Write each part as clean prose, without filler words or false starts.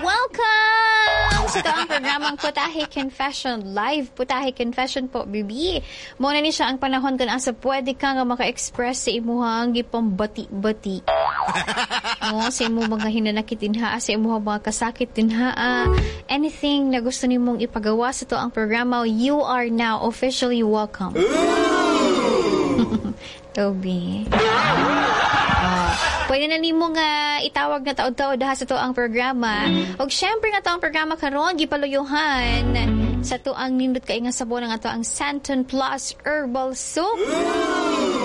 Welcome sa atoang programang Putahe Confession. Live Putahe Confession po, bibi. Muna ni siya ang panahon kung asa pwede ka nga maka-express sa imuhang gipambati-bati. No, sa imong mga hinanakit dinha, sa imong mga kasakit dinha, anything na gusto nimong ipagawa sa atoang programa, you are now officially welcome. Toby. Pwede na nimo nga itawag na taod-taod ha sa atoang programa. Og syempre nga atoang programa karon gipaluyuhan sa atoang nindot kay nga sabon ang atoang Santon Plus Herbal Soap.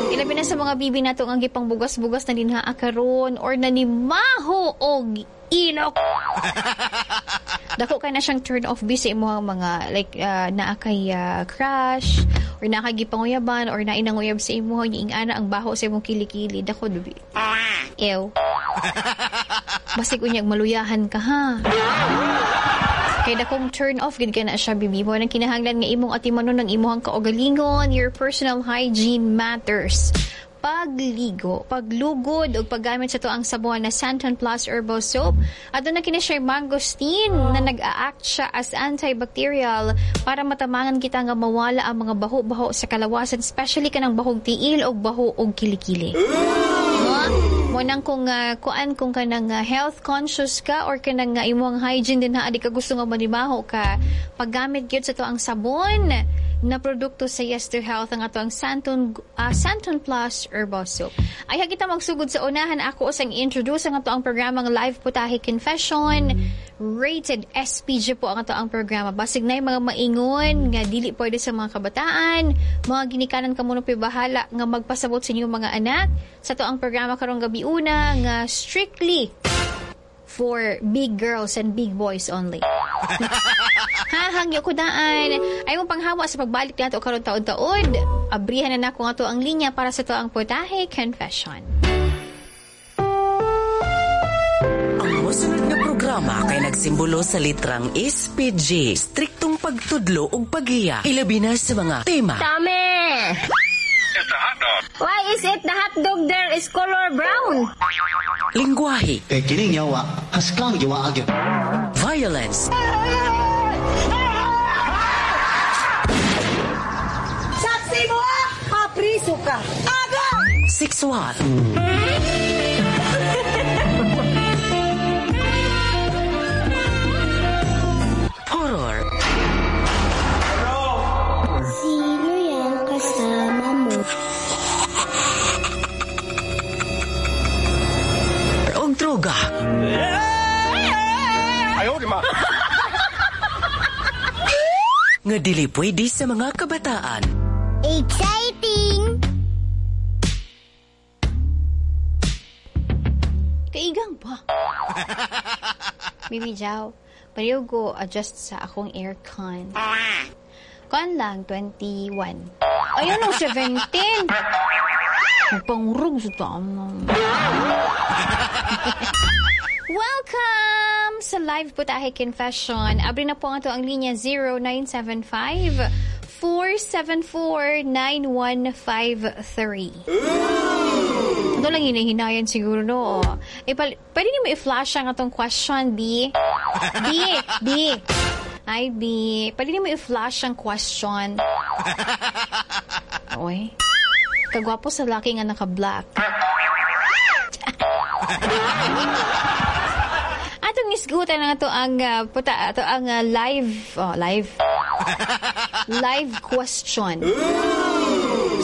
Ilabi na sa mga bibi nato ang gipangbugas-bugas na dinha karon or nanimaho og ilok. Dako kay na siyang turn off bi sa imong mga like naa kay crush or naa kay gipanguyaban or naa nanguyab sa imo ing ana ang baho sa imong kilikili, dako dubi. Ew. Basig unyag maluyahan ka ha. Kay dakong turn off gid kay na siya, bibi mo nang kinahanglan nga imong atimanon ang imong kaugalingon, your personal hygiene matters. Pagligo, paglugod ug paggamit sa atoang sabon na Santon Plus Herbal Soap. Aduna kini siya mangosteen na nag-a-act siya as antibacterial para matamangan kita nga mawala ang mga baho-baho sa kalawasan, especially kanang bahog tiil o baho og kilikili. No? Mo nang kung kuan kung kanang health conscious ka or kanang imong hygiene din ha, di ka gusto nga manimaho ka, paggamit gyud sa atoang sabon na produkto sa Yes to Health ang atoang Santon Plus Herbal Soap. Ay kita magsugod sa unahan, ako usang introduce ang atoang programang Live Putahe Confession. Rated SPG po ang atoang programa. Basig na mga maingon nga dili pwede sa mga kabataan, mga ginikanan kamo no bahala nga magpasabot sa inyong mga anak sa atoang programa karong gabi una nga strictly for big girls and big boys only. Ha, hangyo ko daan. Ay mo panghawa sa pagbalik nato karon taod-taod. Abrihan na nako nga to ang linya para sa atoang Putahe Confession. Ang mosunod nga programa kay nagsimbolo sa litrang SPG, striktong pagtudlo ug paghiya, ilabi na sa mga tema. Tame! Why is it the hot dog there is color brown? Lingwahe. Eh, kining yawa, haskang yawa agyo. Violence. Saksi mo ah! Kapriso ka! Agay! Sexual. Horror. Sino yan kasama mo? Og droga. Ayaw, di ma. Nga dili pwede sa mga kabataan. Exciting! Kaigang pa. Baby Jow, pareho go adjust sa akong aircon. Kuan lang, 21. Ayun ang 17! Magpangurog sa tama. Welcome sa Live Putahe Confession. Abri na po ang atoang linya 0975-474-9153. Ito lang hinahinayan siguro, no? Eh, pwede niyo mo i-flash ang atong question, B? B! B! Ay, B. Pwede niyo mo i-flash ang question. Oy. Kagwapo sa laki nga naka-black. Atong isgutan na to ang puta ato ang live oh, live live question.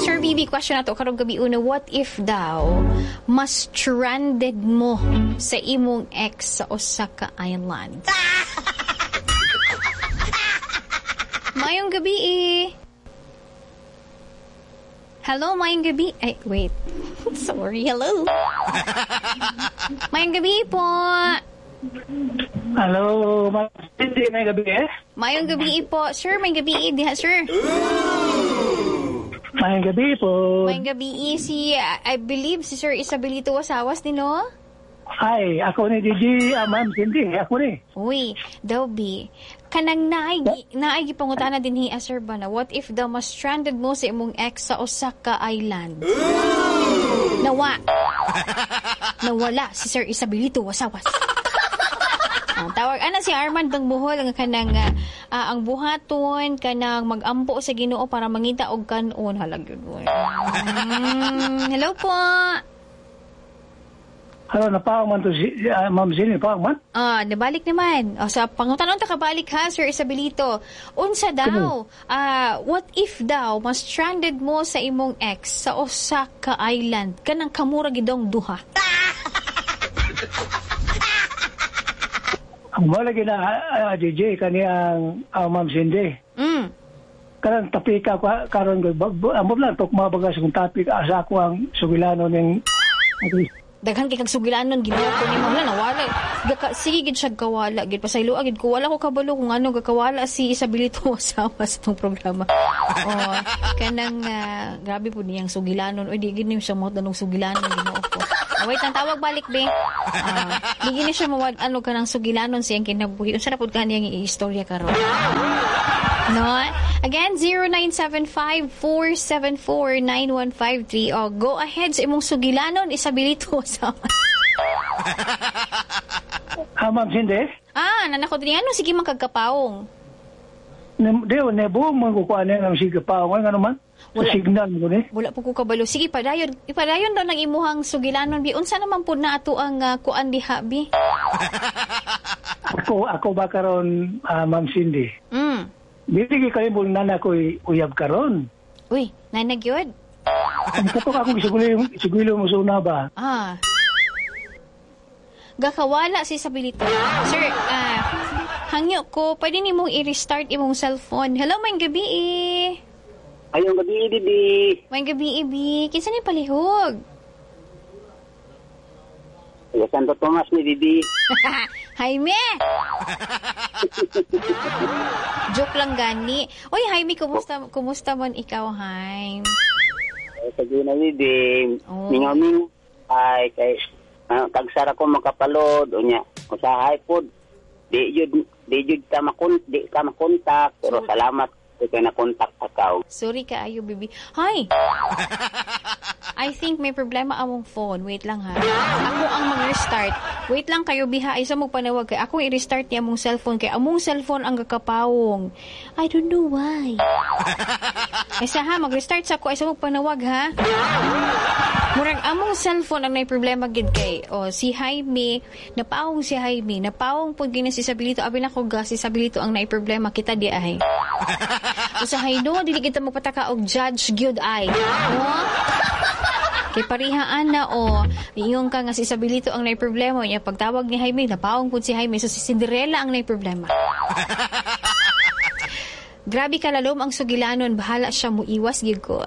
Sir BB, question nato karong gabi una, what if daw mas stranded mo sa imong ex sa usa ka island? Mayong gabi eh. Hello, mayong gabi. Ay, wait. Sorry, hello. Mayong gabi po. Hello, hindi, may gabi eh? Mayong gabi po. Sir, may gabi diha, sir. Mayong gabi po. Mayong gabi si, I believe, si Sir Isabelito Wasawas ni, no? Ay, ako ni DJ, Ma'am Cindy, ako ni. Uy, daw bi, kanang naay gipangutana din hi, sir ba na, what if daw mas stranded mo sa imong ex sa usa ka island? Nawa. Nawala si Sir Isabelito Wasawas. Tawag ana si Armand ng Bohol ang kanang ang buhaton kanang magampo sa Ginoo para mangita og kanon halag yun. Hello po. Hello, napaong man to si Ma'am Cindy, napaong man? Nabalik naman. O, sa pangutanon ta kabalik ha, Sir Isabelito. Unsa daw, what if daw mas stranded mo sa imong ex sa usa ka island kanang kamura gidong duha? Ang wala gina DJ kani ang Ma'am Cindy. Karon tapika karon amo lang tok mabagas kung topic asa ako ang sugilano ning daghan kay kag sugilanon Ginoo ko nimo na nawala. Sige gid siya kawala gid pasayloa gid ko wala ko kabalo kung ano gakawala si Isabelito Wasawas tong programa. Oh, kanang grabe pud niyang sugilanon. Oy di gid niyo siya mo tanong sugilanon Ginoo ko. Wait, ang tawag balik be. Di gid siya mawad ano kanang sugilanon siyang kinabuhi. Unsa na pud kaniyang iistorya karon? No? Again, 0975-474-9153. Oh, go ahead sa imong sugilanon, Isabelito Wasawas. Ma'am Cindy? Nanako din. Ano? Sige, magkagkapaong. Di, nebo, magkukuha na ng sige paong. Ano man? Wala, signal mo ni. Wala po ko kabalo. Sige, padayon. Ipadayon daw ng imuhang sugilanon, bi. Unsa naman po na ato ang kuan diha, bi? Ako ba karon, Ma'am Cindy? Dili kay mo nana ko uyab karon. Uy, nana gyud. Ang katok akong isugilo mo sa una ba? Gakawala si Isabelito. Sir, hangyo ko, pwede nimong i-restart imong cellphone. Hello, maayong gabi. Ayong gabi, Bibi. Maayong gabi, Ibi. Kinsa ni palihog? Taga Santo Tomas ni Bibi. Jaime! Joke lang gani. Oy, Jaime, kumusta man ikaw, Jaime? Sige na, Bibi. Oh. Mingaw-mingaw. Ay, kay kagsara ko makapalod. O niya, usahay po. Di jud ka makontak. Pero salamat kay na-contact akaw. Sorry ka, ayo, Bibi. Hi! I think may problema among phone. Wait lang ha. Ako ang mag-restart. Wait lang kayo, biha. Ay, sa mong panawag kay akong i-restart niya among cellphone. Kay among cellphone ang gakapawong. I don't know why. Ay, sa ha, mag-restart sa ako. Ay, sa mong panawag ha. Murag among cellphone ang may problema gid kay. O, si Jaime, napaong si Jaime. Napaong po gina si Isabelito. Abi na ko ga, si Isabelito ang naay problema. Kita di ay. Usahay no, dili kita magpataka og judge gyud ay. No? Kay parihaan na o ingon ka nga si Isabelito ang naay problema niya pagtawag ni Jaime napaong pud si Jaime so si Cinderella ang naay problema. Grabe kalalom ang sugilanon, bahala siya muiwas gyud ko.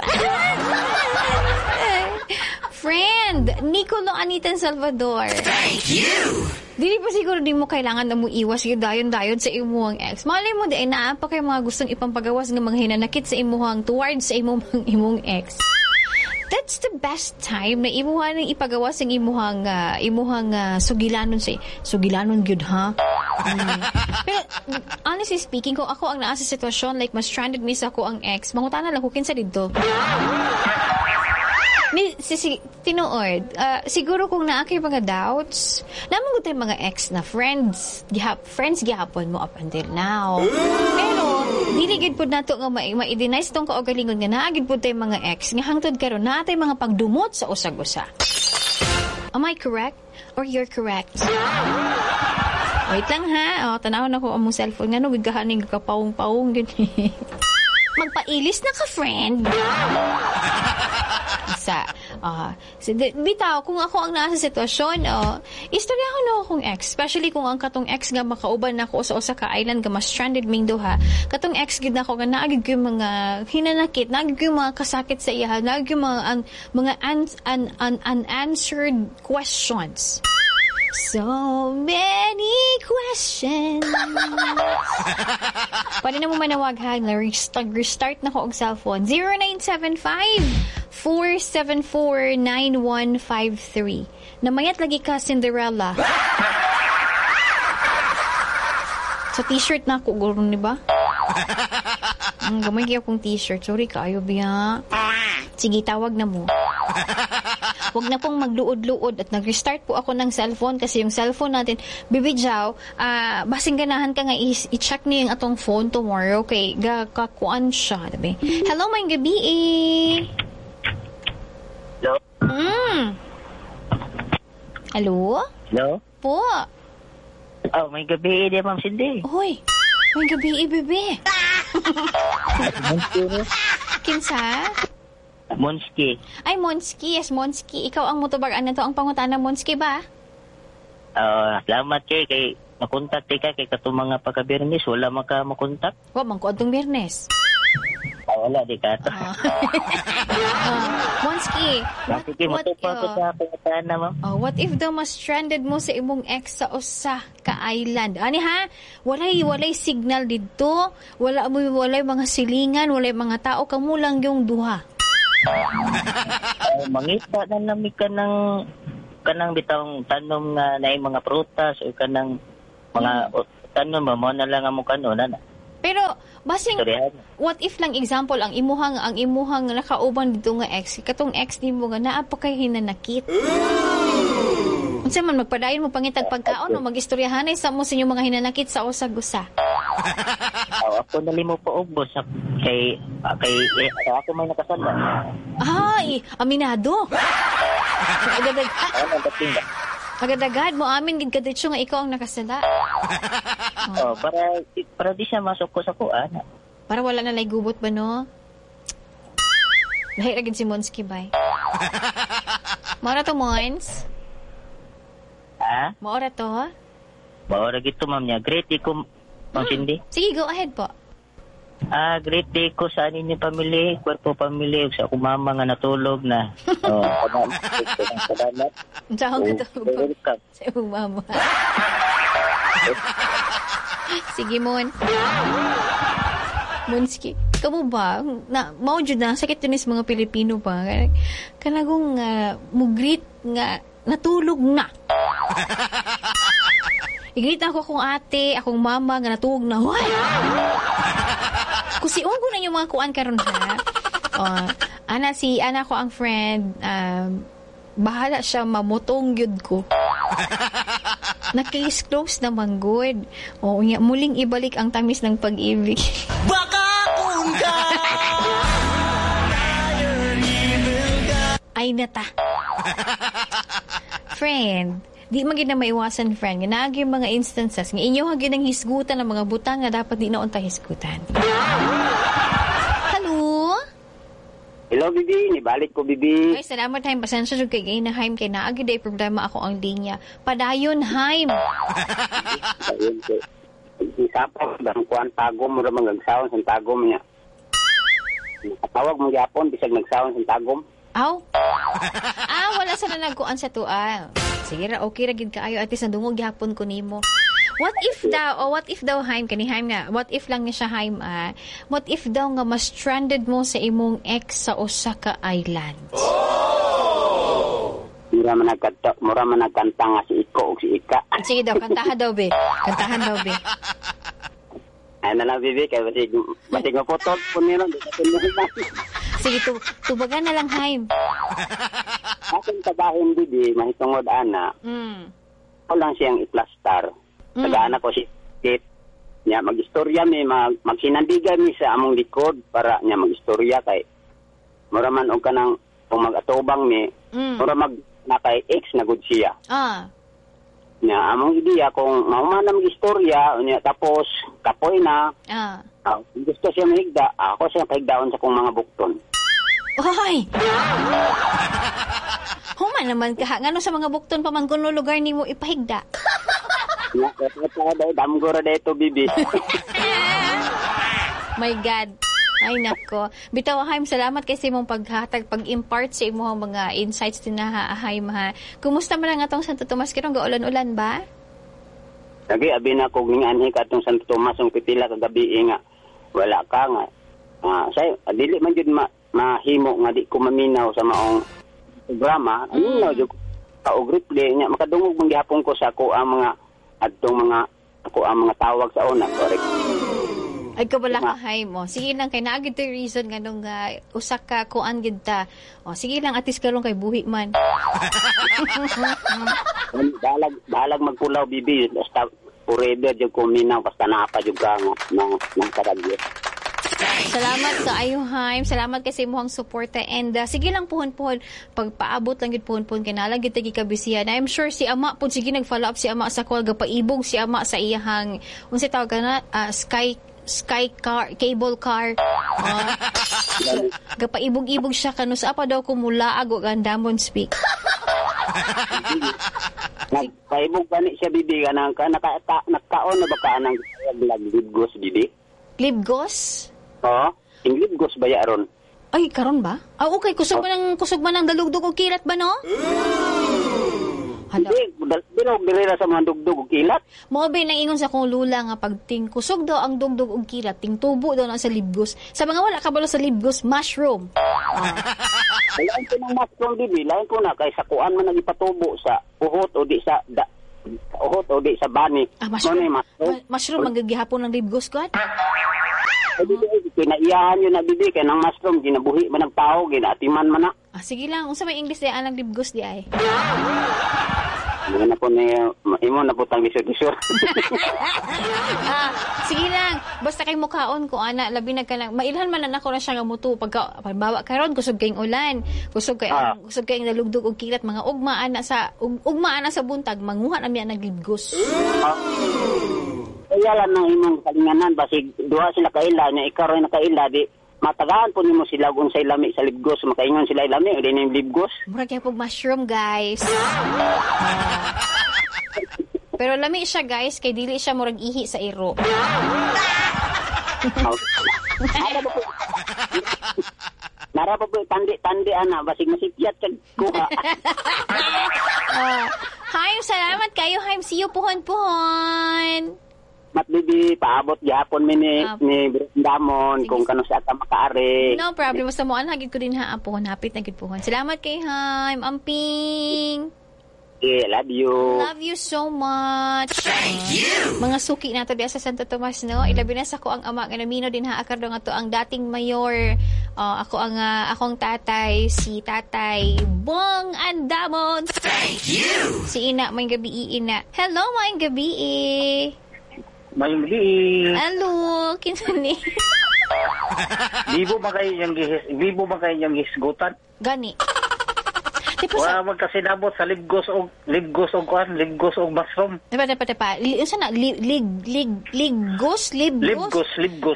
Friend, Nicolo Anitan Salvador. Thank you. Dili pa siguro di mo kailangan na muiwas yung dayon-dayon sa imuhang ex. Malay mo di ay naa pa kay mga gustong ipampagawas ng mga hinanakit sa imuhang towards sa imong ex. That's the best time na imuha nang ipagawas ang imuhang sugilanon sa sugilanon gyud ha. Pero honestly speaking, kung ako ang naa sa sitwasyon like mas stranded mi sa ako ang ex, mangutana lang ko kinsa didto. Tinuod, siguro kung naa kay mga doubts, namang gud mga ex na friends, friends gihapon mo up until now. Pero dili gid pud nato nga ma-deny sa tong kaugalingon nga naa gid pud tay mga ex nga hangtod karon naa tay mga pagdumot sa usag-usa. Am I correct or you're correct? Wait lang ha. Oh, tan-awon ako among cellphone ngano gid kahaning kapawong-pawong gid. Magpailis na ka, friend. Sa bitaw kung ako ang nasa sitwasyon, istorya ko na akong ex, especially kung ang katong ex nga makauban nako sa usa ka island nga mas stranded ming duha. Katong ex gid nako nga naa gid ko yung mga hinanakit, naa gid ko yung mga kasakit sa iya, naa gid yung mga unanswered questions. So many questions. Pwede na mo manawag ha. Restart na ko og cellphone. 0975-474-9153. Namayat lagi ka, Cinderella. Sa t-shirt na ako, guro, ni ba? Gamay kaya akong t-shirt. Sorry kaayo, biya. Sige, tawag na mo. Wag na pong magluod-luod at nag-restart po ako ng cellphone kasi yung cellphone natin, Bibi Jaw, basing ganahan ka nga i-check niyo yung atong phone tomorrow kay gakakuan siya, diba? Hello, may gabi eh. Hello? Hello? Hello? Po. Oh, may gabi eh, Ma'am Cindy. Uy, may gabi eh, bebe. Kinsa? Monski. Ay, Monski. Yes, Monski. Ikaw ang motobar-an na to. Ang pangutana, Monski ba? Salamat kay makontak ka kay katong mga pagka-Biyernes. Wala man ka makontak. Wa man ko adtong Biyernes. Wala, di ka to. Monski, Sige, matupa ko sa pangutana, ma'am. Oh, what if daw mas stranded mo sa imong ex sa usa ka island? Ani ha? Walay signal didto, walay mga silingan, walay mga tao, kamo lang yung duha. Mangita na nami ka ng kanang bitawng tanom nga naay mga prutas o kanang mga tanom ba mo na lang ang mukha na. Pero basing what if lang example ang imuhang nakauban dito nga ex, katong ex nimo nga naa pa kay hinanakit. Unsa man magpadayon mo pangitag pagkaon o magistoryahanay sa mo sa inyong mga hinanakit sa usag-usa? Ako nalimo pa ubos kay ako may nakasala. Ay, aminado. Agad-agad mo amin gid kaditso nga ikaw ang nakasala. Oh, para di siya masuk ko sa kuan. Para wala na lay gubot ba no? Lahi ra gid si Monski bay. Maura to, Mons? Ha? Maura to? Maura gid to, ma'am niya. Great day ko, Ma'am Cindy. Sige, go ahead po. Great day ko sa inyong pamilya, kwarpo pamilya, sa akong mama nga natulog na. Oh, salamat. Saan ka tulog? Sa imong mama. Sige, Mon. Monski, kamo ba? Na, mao jud na, sakit yun is mga Pilipino pa. Kanagong mugreet nga natulog na. I-greet ako akong ate, akong mama nga natulog na. Hoy! Kusiun ko na yung mga kuan karon ha. Ana si ana ko ang friend, bahala siya mamutong gyud ko. Na-case close naman good. O nya muling ibalik ang tamis ng pag-ibig. Baka kung ka ay nata. Friend, di man gid na maiwasan, friend. Nga yung mga instances nga inyo ha gid ang hisgutan ng mga butang nga dapat di na unta hisgutan. Hello? Hello, Bibi. Nibalik ko, Bibi. Ay, salamat, Haim. Pasensya jud kay gay na, Haim. Kay naa gid ay problema ako ang linya. Padayon, Haim. Padayon ko. Isapok, bang kuan tagom mo ra magagsaon sa tagom niya. Nakatawag mo gyapon bisag nagsaon sa tagom. Aw. Wala sa na nagkuan sa tual. Sige ra, okay ra gid kaayo at least nadungog gyapon ko nimo. What if daw Haim, kani Haim nga, what if lang ni siya Haim, what if daw nga mas stranded mo sa imong ex sa usa ka island? Oh! Mura man nagkanta nga si Iko ug si Ika. Sige daw, kantahan daw be. Kantahan daw be. Ay na lang bibi kay basig maputol po nila. Sige, tubagan na lang Haim. Akong tabahin bibi mahitungod ana. Ako lang siyang iplastar. Tagaan ako si Kit. Nya magistorya mi, magsinandigan mi sa among likod para nya magistorya kay mura man og kanang kung mag-atubang mi, mura mag na kay ex na gud siya. Nya among ideya kung mahuman na magistorya nya tapos kapoy na. Gusto siya mahigda, ako siya pahigdaon sa kong mga bukton. Hoy. Human naman ka ngano sa mga bukton pa man kuno lugar nimo ipahigda. Damgora dito, bibi. My God. Ay, nako. Bitaw, Haim, salamat kay sa imong paghatag, pag-impart sa imong mga insights din na, Haim, ha. Kumusta man ang atong Santo Tomas? Kirong gaulan-ulan ba? Lagi, abi na kog ninganhi ka atong Santo Tomas, ang pipila kagabi nga. Wala ka nga. Say, dili man jud mahimo nga di ko maminaw sa maong programa. Ano na, jud ka og replay nya makadungog man gihapon ko sa ako ang mga adtong mga ako ang mga tawag sa una, correct. Ay kabala ka Haim. O, sige lang kay naa gid reason nganong usa ka kuan gid ta. O, sige lang atis karon kay buhi man. Balag magpulaw bibi basta forever jud ko minaw basta naa pa jud ka nga na radyo. Salamat kaayo Haim. Salamat kay sa imong suporta and sige lang puhon-puhon pagpaabot lang gid puhon-puhon kay naa lang gid tagi kabisihan. I'm sure si ama pud sige nag-follow up si ama sa call gapaibog si ama sa iyahang unsay tawag na sky car cable car. Gapaibog-ibog siya kanu sa pa daw kumulaag og andamon speak. Nagpaibog pa ni siya bibi kanang ka nakaon na ba ka anang libgos bibi? Libgos? Oo, oh, libgos ba ya ron? Ay, karon ba? Ah, okay, kusog man ang dalugdog og kilat ba no? Hala. Hindi, bilog dili ra sa mga dugdog og kilat. Mao ba nang ingon sa akong lula nga pag ting kusog daw ang dugdog og kilat, ting tubo daw na sa libgos. Sa mga wala kabalo sa libgos, mushroom. Lain ko ng mushroom bibi, lain ko na kay sa kuan man nagipatubo sa uhot o di sa uhot o di sa bani. Ah, mushroom. Mushroom manggigihapon ng libgos ko. Kinaiyahan yun na bibi kay nang mushroom ginabuhi man nagtao ginaatiman man na. Ah, sige lang, unsa may English di anang libgos di ay? Mo na po ni imo na putang lisod-lisod. Ah, sige lang, basta kay mukaon ko ana labi na kanang mailhan man na nako na siya nga mutu pagka halimbawa karon kusog kayong ulan, kusog kay kusog kay nalugdog og kilat mga ugma ana sa ugma ana sa buntag manguha na mi ang naglibgos. Kaya lang nang imong kalinganan basig duha sila kaila nya ikaw ra nakaila di matagaan po nimo sila kung say lami sa libgos makaingon sila lami o di ning libgos. Murag kay pog mushroom guys. Pero lami siya guys kay dili siya murag ihi sa iro. Nara pa po tandi-tandi ana basig masikyat kag kuha. Haim, salamat kayo Haim. See you puhon-puhon. Mat bibi, paabot gihapon mi ni Damon kung kano sa ata makaari. No problem. Basta mo anhagid ko din ha puhon hapit na gid puhon. Salamat kay Haim. Amping. Yeah, love you. Love you so much. Thank you. Mga suki nato diya sa Santo Tomas no. Ilabi na sa ko ang ama nga namino din ha akardo nga to ang dating mayor. Ako ang akong tatay si Tatay Bong Andamon. Thank you. Si Ina may gabi ina. Hello, may gabi. Mayong gabi. Hello, kinsa ni? Bibo ba kayo yung hisgutan? Gani. Wala magkasinabot sa libgos og kuan, libgos og mushroom. Diba. Unsa na libgos?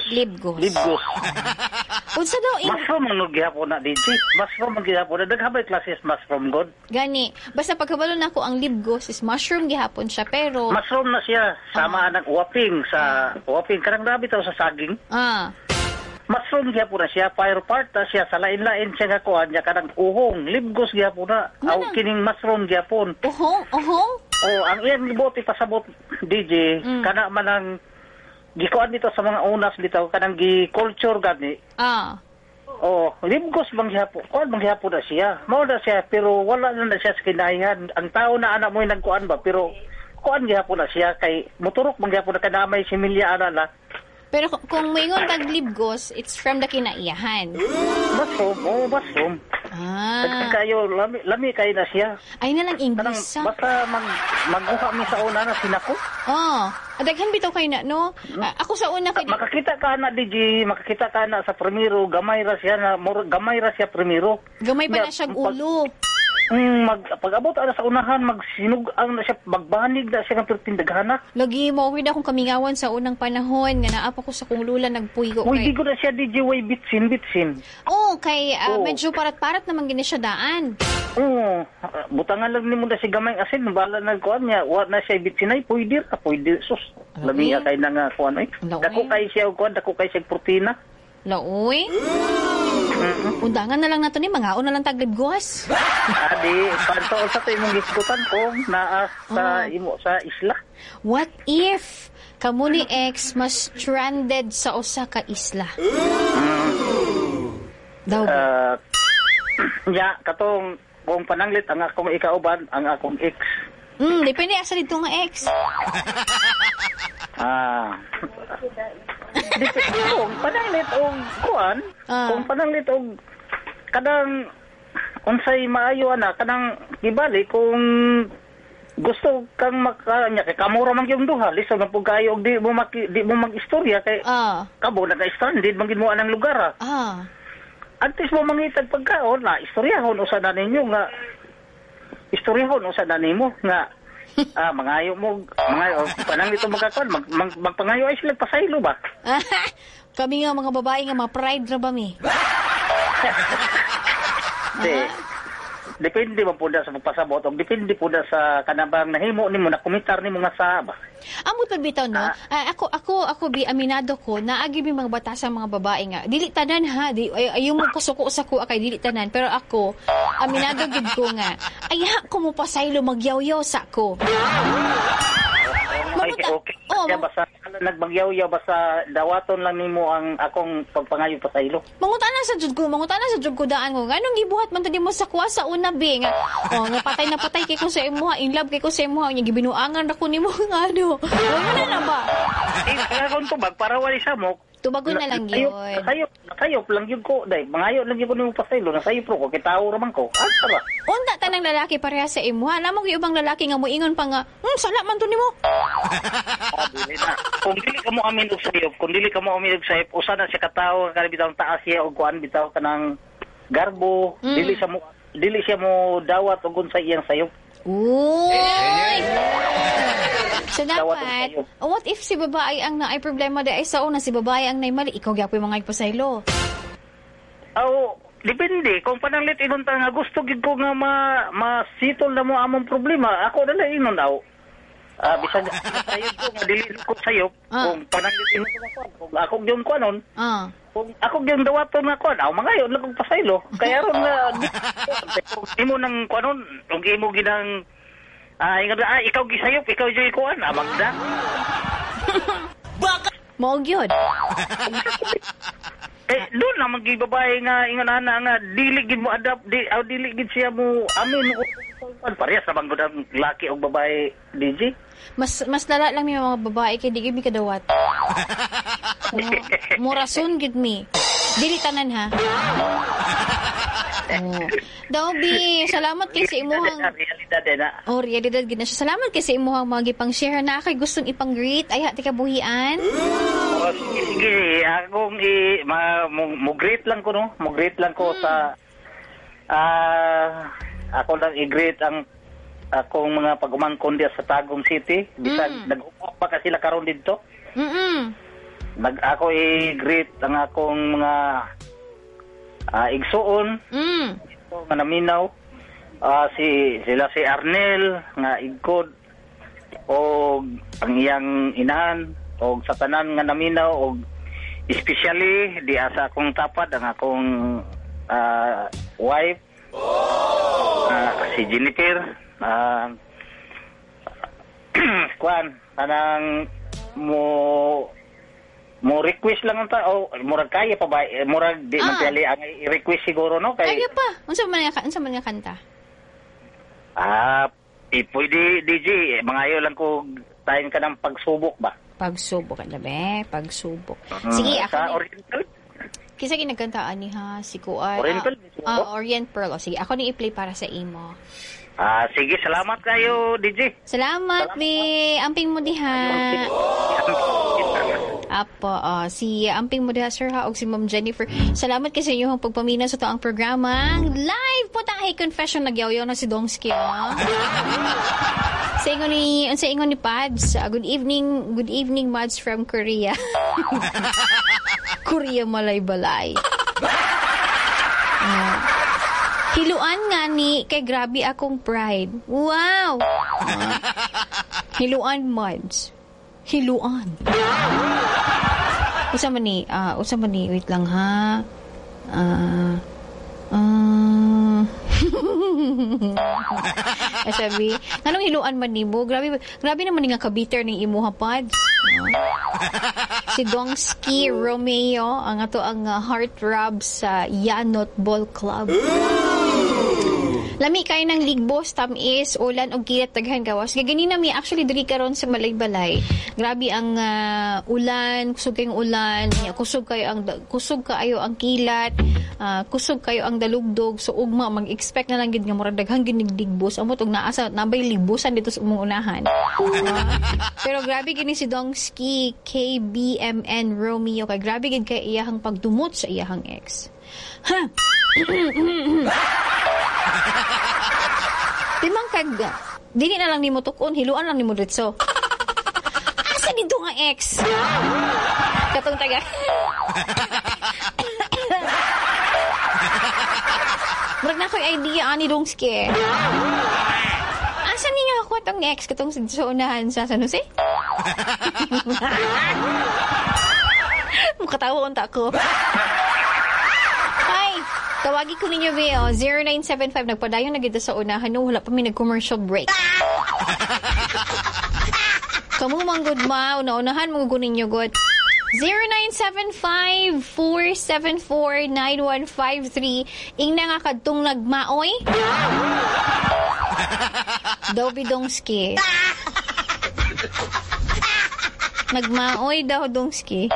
Libgos. Unsa daw mushroom ang gihapon na DJ. Mushroom ang gihapon na daghan bay classes mushroom god. Gani. Basta pagkabalo nako ang libgos is mushroom gihapon siya pero mushroom na siya sama nang uwaping sa uwaping karang grabe taw sa saging. Ah. Mushroom gihapon na siya, fire part na siya, sa lain-lain siya nga kuan niya kanang uhong, libgos gihapon na. Aw kining mushroom gihapon. Uhong? Oh, ang iyang gibuot ipasabot DJ, kana man ang gikuan dito sa mga unas dito kanang gi-culture gani. Ah. Oh, libgos bang gihapon. Kuan bang gihapon na siya. Mao na siya pero wala na siya sa kinahihan. Ang tao na anak mo nagkuan ba pero kuan gihapon na siya kay moturok bang gihapon na kanamay similya ana na. Pero kung maingon tag libgos, it's from the kinaiyahan. Mushroom, oh, mushroom. Ah. Kayo, lami kayo na siya. Ay na lang English. Kanang, basta mag-uha mi sa una na sinako. Oh, daghan bitaw kayo na, no? Ako sa una kay makakita ka na DJ, makakita ka na sa primero, gamay ra siya na, gamay ra siya primero. Gamay pa na siya ulo. Pag-abot ana sa unahan, magsinug ang na siya, magbanig na siya ng pertindaghana. Lagi mo weird akong kamingawan sa unang panahon nga naa pa ko sa kong lula nagpuyo kay. Uy, di ko na siya DJ way bitsin. Oh, kay medyo parat-parat naman gini siya daan. Oo, butangan lang nimo na si gamay asin, bala na kuan niya, wa na siya bitsin ay pwede ra, pwede sus. Lami kay na nga kuan ay. Dako kay siya og kuan, dako kay siya protina. Laoy. Undangan na lang nato ni mangaon na lang taglibgos. Adi, panto sa to imong gisgutan ko naa sa imo sa isla. What if kamo ni ex mas stranded sa usa ka isla? Daw. Ya katong kung pananglit ang akong ikauban ang akong ex. Depende asa dito nga ex. Ah. Kung pananglit og kuan, kung pananglit og kanang unsay maayo ana kanang gibali kung gusto kang makanya kay kamura man gyud duha lisod man pud kayo og di mo mag-istorya kay kabo naga-stranded man gid mo anang lugar. Antes mo mangitag pagkaon na istoryahon usa na ninyo nga istoryahon usa na nimo nga mangayo mo mangayo pananglit og magkakuan magpangayo ay sila pasaylo ba. Kami nga mga babae nga mga pride ra ba mi? Depende man po na sa pagpasabot o depende po na sa kanabang nahimo nimo na komentar nimo nga sa ba. Amot pa bitaw no. Ako bi aminado ko naagi bi mga bata sa mga babae nga dili tanan ha, di ayaw mo kasuko sa kuha kay dili tanan, pero ako aminado gid ko nga ay ko mo pasaylo magyawyaw sa ko. Okay. Oh, basta nagbagyaw-yaw basta dawaton lang nimo ang akong pagpangayo pasaylo. Mangutana sa jud ko, daan ko. Anong gibuhat man to nimo sa kuha sa una bi nga oh nga patay na patay kay ko sa imuha, in love kay ko sa imuha, nya gibinuangan ra ko nimo nga ano. Wala na ba? Eh kung tubag para wali sa mo. Tubagon na lang yun. Nasayop lang yun ko. Day, mangayo lang yun ko nimo pasaylo. Nasayop ko, kay tao raman ko. Asa ba? Unta tanang lalaki pareha sa imuha. Alam mo yung ibang lalaki nga moingon pa nga, sala man to nimo. Dili na. Kung dili ka mo amin og sayop, usa na siya katawo nga bitaw taas siya og kuan bitaw kanang garbo, dili siya mo dawat og unsa iyang sayop. Uy! So dapat, what if si babae ang naay problema di ay sa una, si babae ang naay mali, ikaw gyapoy mga ipasaylo? Aw, depende. Kung pananglit ingon ta nga gusto gid ko nga masitol na mo among problema, ako na lang ingon aw. Bisag sayop ko nga dili ko sayop. Kung pananglit ingon ko kung ako gyud ko anon. Kung ako gyud dawaton nga kuan, aw mangayo lang kog pasaylo. Kaya ron nga imo nang kuanon, ug imo ginang ikaw gisayop, ikaw joy kuan, magda. Baka mao gyud. Eh doon na magibabae nga ingon ana nga dili gid mo adapt, dili gid siya mo amin mo. Parehas ra bang gud ang laki og babae, DJ? Mas lala lang mi mga babae kay di gid mi kadawat. Murason gid mi. Dili tanan ha. Oh. Dobby, salamat kay sa imuhang realidad na. Oh, realidad gid na siya. Salamat kay sa imuhang mga gipang-share na kay gustong ipang-greet ay hati kabuhian. Oh, sige, akong mo greet lang ko no. Mo greet lang ko sa ako lang i-greet ang akong mga pag-umangkon diya sa Tagum City. Bisag nag-upo pa ka sila karon didto. Ako i-greet ang akong mga igsuon. Ito nga naminaw. Sila si Arnel nga igkod og ang iyang inahan og sa tanan nga naminaw og especially diya sa akong tapad ang akong wife. Si Jennifer, kuan kanang mo request lang ang tao, murag kaya pa ba, murag di man tali ang i-request siguro no kay kaya pa. Unsa man nga kanta? Pwede DJ, mangayo lang ko tayon ka ng pagsubok ba? Pagsubok ka na be, pagsubok. Sige, ako sa Oriental. Kisa ginagkantaan ni ha, si Kuan. Oriental? Orient Pearl. O, sige, ako ni i-play para sa imo. Sige, salamat kayo, DJ. Salamat, be. Amping mo diha. Apo, si amping mo diha, sir, ha, og si Ma'am Jennifer. Salamat kay sa inyong pagpamina sa toang programa. Live po ta kay Confession, nagyaw-yaw na si Dongski, oh. Sa ingon ni Pads, good evening, Mads from Korea. Korea malay-balay. Hiluan nga ni kay grabe akong pride. Wow. Hiluan, Mads. Hiluan. Usa man ni, wait lang ha. Sabi, nganong hiluan man nimo? Grabe naman nga kabiter ning imuha, Pads. Si Dongski Romeo ang ato ang heart rub sa Yanot Ball Club. Lami kayo ng ligbos, tamis, ulan og kilat daghan gawas. Kay ganina mi actually diri karon sa Malaybalay. Grabe ang ulan, kusog kayong ulan, kusog kaayo ang kilat, kusog kayo ang dalugdog. So ugma mag-expect na lang gid nga murag daghang ginig ligbos. Amot og naa sa nabay ligbosan dito sa umong unahan. Pero grabe gini si Dongski KBMN Romeo kay grabe gid kay iyahang pagdumot sa iyahang ex. Ha. Timang kag dili na lang nimo tukon, hiluan lang nimo diretso. Asa dito nga ex? Katong taga. Murag na ko'y idea ani Dongski. Asa niya ako atong ex katong sa unahan sa San Jose? Mukatawa unta ko. Hi! Tawagi ko ninyo, Beo. 0975. Nagpadayon na gito sa unahan. No, wala pa may nag-commercial break. Kamu manggod ma. Una-unahan mo ninyo, good. 0975-474-9153. Ingna nga kadtong nagmaoy. Dobby Dongski. Nagmaoy daw, Dongski.